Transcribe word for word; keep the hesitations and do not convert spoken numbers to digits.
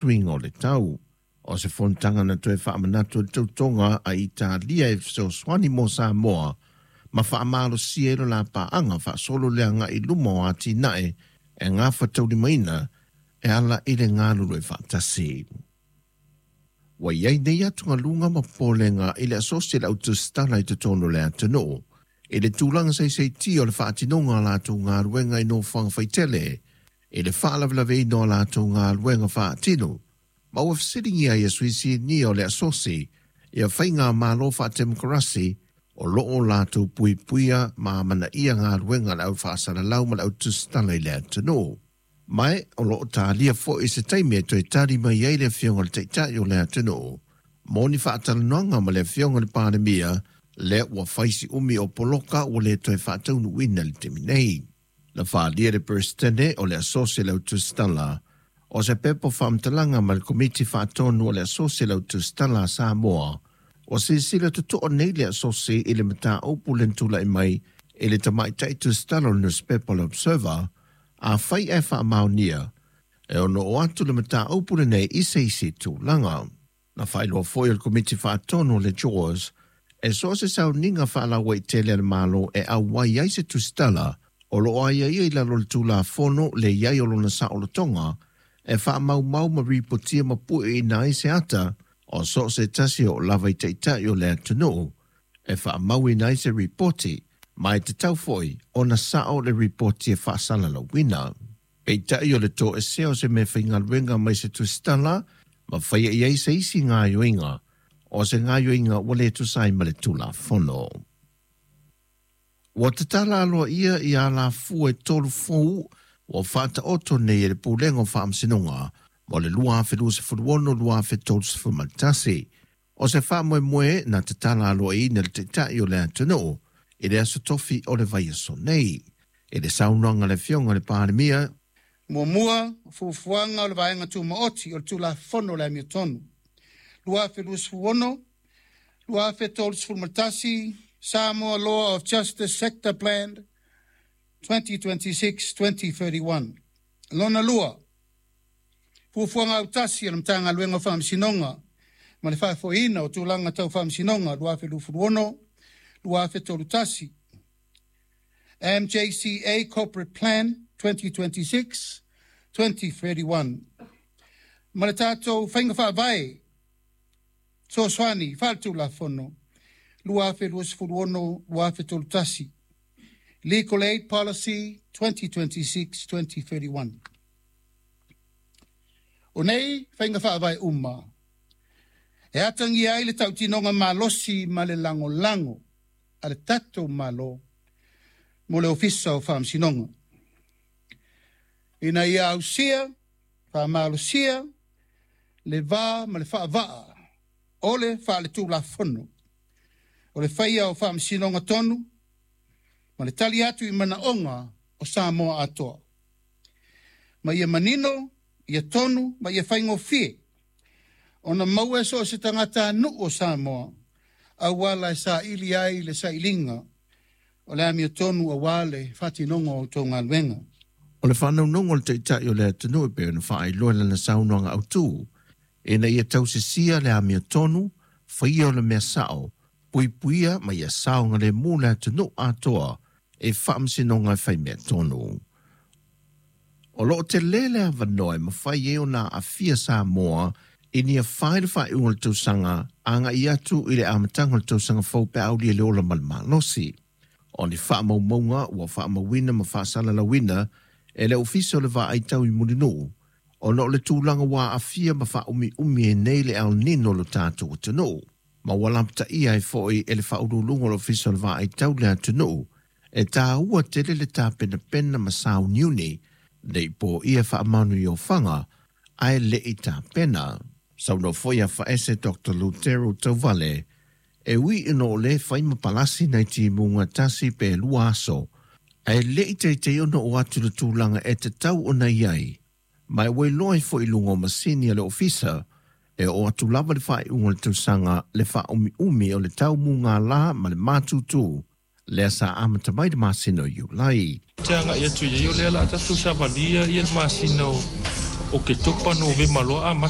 Suiga o le tau. O se fonotaga na toe faamanatu i le tautoga a Italia e fesoasoani mo Samoa ma faamalosia ai le lapaaga faasolo le agai i luma o atinae e gafataulimaina e ala i le galulue faatasi. Ua i ai nei atugaluga ma popolega i le asosi a le au tusitala i totonu o le atunuu i le tulaga saisaitia o le faatinoga o latou galuega i nofoaga faitele i le faalavelaveina o latou galuega faatino, ma ua fesiligia ai e sui sinia o le asosi ia faigamalo faatemokarasi o loo latou puipuia ma amanaia galuega a le au faasalalau ma le au tusitala i le atunuu. Ma o loo talia foi se taimi e toe tali mai ai le afioga i le Taitai o le atunuu mo ni faatalanoaga ma le afioga i le Palemia, lea ua fai si umi o poloka ua le toe faataunuuina i le taimi nei. Na faaalia e le Peresetene o le Asosi a le Au Tusitala o se pepa faamatalaga ma le Komiti Faatonu o le Asosi a le Au Tusitala a Samoa, ua silasila totoa nei le asosi i le mataupu lea na tulai mai i le tamaitai tusitala o le nusipepa o le Observer. Afai ae faamaonia, e ono oo atu le mataupu lenei i se isi tulaga. Na faailoa foi e le Komiti Faatonu o le JAWS, e so o se sauniga faalauaitele a le Malo e auai ai se tusitala o lo o aiaia i lalo o le Tulafono le i ai o lona saolotoga e faamaumau ma ripotia ma pueina ai se ata o so o se tasi e oo lava i taitai o le atunuu e faamauina ai se ripoti, ma e tatau foi ona sao le ripoti e faasalalauina. Peitai o le toesea o se meafaigaluega mai se tusitala ma faia i ai se isi gaoioiga, o se gaoioiga ua le tusa ai ma le Tulafono. Ua tatala aloaia ia alafua e tolu fou ua faataoto nei e le Pulega o Faamasinoga mo le lua afe luasefulu ono lua afe tolusefulu ma le tasi. O se faamoemoe na tatala aloaiaina e le Taitai o le atunuu i le aso Tofi o le vaiaso nei. I le saunoaga a le Afioga i le Palemia, Muamua, fuafuaga o le Vaega Tumaoti o le Tulafono o le Amiotonu lua afe luasefulu ono lua afe tolusefulu ma le tasi, Samoa Law of Justice Sector Plan twenty twenty-six twenty thirty-one. Lona lua, fuafuaga autasi a le Matagaluega o Faamasinoga ma le Faafoeina o Tulaga Tau Faamasinoga lua afe luasefulu ono lua afe tolu tasi, M J C A Corporate Plan twenty twenty-six twenty thirty-one, ma le tatou faiga faavae fesoasoani faaletulafono lua afe luasefulu ono lua afe tolu tasi, Legal Aid Policy twenty twenty-six twenty thirty-one. O nei faiga faavae uma e atagia ai le tautinoga malosi ma le lagolago a le tatou Malo mo le Ofisa o Faamasinoga ina ia ausia faamalosia le va ma le faavaa o le faaletulafono o le faia o faamasinoga tonu ma le tali atu i manaoga o Samoa atoa. Ma ia manino, ia tonu ma ia faigofie ona maua e so o se tagatanuu o Samoa auala e saili ai le sailiga o le amiotonu auā le faatinoga o outou galuega. O le faanaunaug o le Taitai o le atunuu e pei ona faailoa i lana saunoaga autu, ina ia tausisia le amiotonu, faia o le mea sao, puipuia ma ia saogalemu le atunuu atoa i faamasinoga e faimea tonu. O loo tele le avanoa e mafai ai ona aafia Samoa i ni afa i le faaiuga o le tausaga agai atu i le amataga o le tausaga fou pe a aulia le ola ma le malosi. O ni faamaumauga ua faamauina ma faasalalauina e le Ofisa o le Vaai Tau i Mulinuu, ona o le tulaga ua aafia ma faaumiumi ai nei le El Nino lo tatou atunuu, ma ua lapataia ai foi e le faauluuluga o le Ofisa o le Vaai Tau le atunuu, e taua tele le tapenapena ma sauniuni nei poia faamanuiofaga ae le i tapena. Saunoa foi afaese Doctor Lutero Tauvale, e ui ina o lē fai ma palasi nai timuga tasi pe lua aso, ae le i teitei ona oo atu le tulaga e tatau ona i ai, ma e ua iloa ai foi i luga o masini a le ofisa, e oo atu lava le faaiuga o le tausaga le faaumiumi o le tau mugālā ma le matutu lea sa amata mai le masina o Iulai. Te agai atu i ai o lea la tatou savalia ia le masina o Oketopa, Novema loa amata.